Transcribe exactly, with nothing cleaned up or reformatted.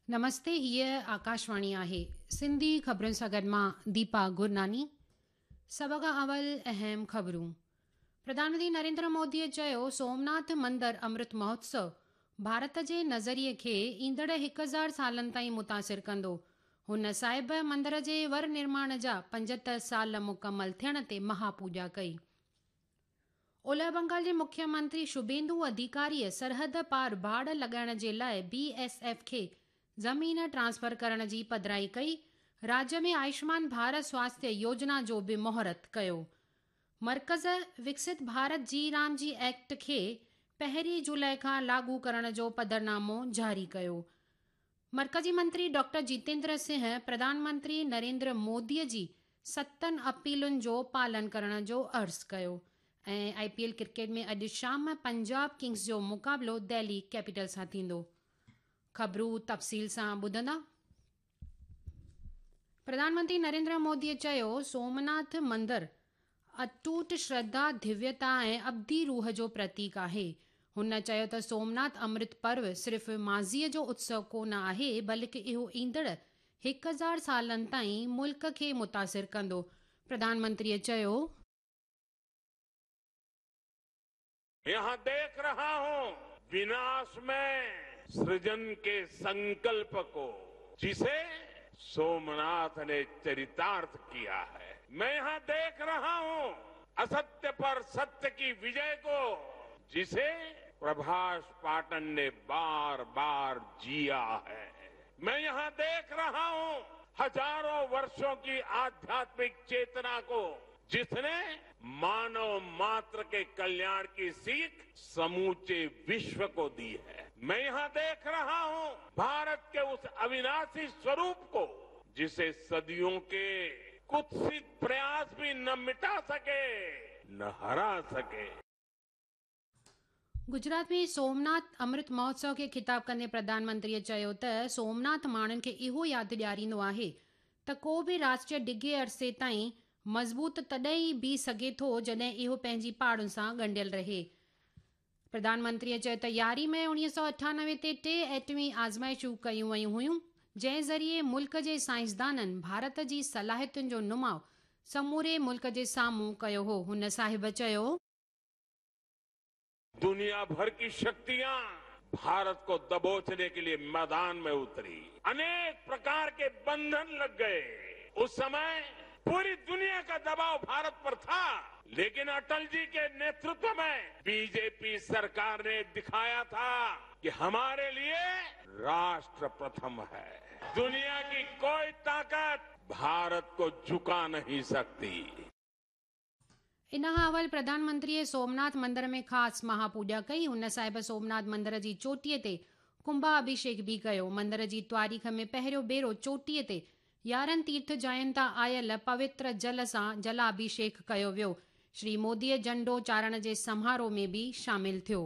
نمستي، هيء آڪاشواڻي آهي. سنڌي خبرن سان گڏ مان ديپا گرناني. سڀ کان اول اهم خبرون. پرڌان منتري نريندر موديء چيو، سومناٿ مندر امرت مهوتسو ڀارت جي نظريي کي ايندڙ هڪ هزار سالن تائين متاثر ڪندو. هن صاحب مندر جي ور نرماڻ جا پنجهتر سال مڪمل ٿيڻ تي مهاپوڄا ڪئي. اولهه بنگال جي مکيه منتري شڀيندو اڌيڪاريء سرحد پار باڙ لڳائڻ جي لاء بي ايس ايف کي زمين ٽرانسفر ڪرڻ جي پڌرائي ڪئي. راجيه ۾ آيوشمان ڀارت سواسٿيه يوجنا جو به مهورت ڪيو. مرڪز وڪست ڀارت جي رام جي ايڪٽ کي پهرين جولاء کان لاڳو ڪرڻ جو پڌرنامو جاري ڪيو. مرڪزي منتري ڊاڪٽر جتيندر سنگهه پرڌان منتري نريندر موديء جي ستن اپيلن جو پالن ڪرڻ جو عرض ڪيو. ۽ آء پي ايل ڪرڪيٽ ۾ اڄ شام پنجاب ڪنگز جو مقابلو دهلي ڪيپيٽل سان ٿيندو. خبرون تفصيل سان ٻڌندا. پرڌان منتري نريندر موديء چيو، سومناٿ مندر اٽوٽ شرڌا، ڌويتا ۽ ابدي روح جو پرتيڪ آهي. هن چيو ته سومناٿ امرت پرو صرف ماضيء جو اتسو ڪونه آهي، بلڪه اهو ايندڙ هڪ هزار سالن تائين ملڪ کي متاثر ڪندو. پرڌان منتريء چيو، यहाँ देख रहा हूं विनाश में सृजन के संकल्प को, जिसे सोमनाथ ने चरितार्थ किया है। मैं यहाँ देख रहा हूं असत्य पर सत्य की विजय को, जिसे प्रभास पाटन ने बार बार जिया है। मैं यहाँ देख रहा हूं हजारों वर्षों की आध्यात्मिक चेतना को, जिसने मानव मात्र के कल्याण की सीख समूचे विश्व को दी है। मैं यहाँ देख रहा हूं भारत के उस अविनाशी स्वरूप को, जिसे सदियों के कुत्सित प्रयास भी न मिटा सके न हरा सके। गुजरात में सोमनाथ अमृत महोत्सव खे खिताब कंदे प्रधान मंत्रीअ चयो त सोमनाथ माण्हुनि खे इहो यादि ॾियारींदो आहे त को बि राष्ट्र डिघे अरसे ताईं मज़बूत तॾहिं ई बीह सघे थो जॾहिं इहो पंहिंजी पाड़ुनि सां ॻंढियल रहे। प्रधान मंत्रीअ चयो त यारहीं मई उणिवीह सौ अठानवे ते टे एटमी आज़माइशूं कयूं वयूं हुयूं, जंहिं ज़रिए मुल्क जे साइंसदाननि भारत जी सलाहियतुनि जो नुमाउ समूरे मुल्क जे साम्हूं कयो हो। हुन साहिब चयो, दुनिया भर की शक्तियां भारत को दबोचने के लिए मैदान में उतरी, अनेक प्रकार के बंधन लग गए। उस समय पूरी दुनिया का दबाव भारत पर था, लेकिन अटल जी के नेतृत्व में बीजेपी सरकार ने दिखाया था कि हमारे लिए राष्ट्र प्रथम है, दुनिया की कोई ताकत भारत को झुका नहीं सकती। इन खां अवल प्रधान मंत्रीअ सोमनाथ मंदर में ख़ासि महापूॼा कई। हुन साहिब सोमनाथ मंदर जी चोटीअ ते कुंभाभिषेक बि कयो। मंदर जी तारीख़ में पहिरियों भेरो चोटीअ ते यारहं तीर्थ जायुनि तां आयल पवित्र जल सां जलाभिषेक कयो वियो। श्री मोदीअ झंडो चाढ़ण जे समारोह में बि शामिल थियो।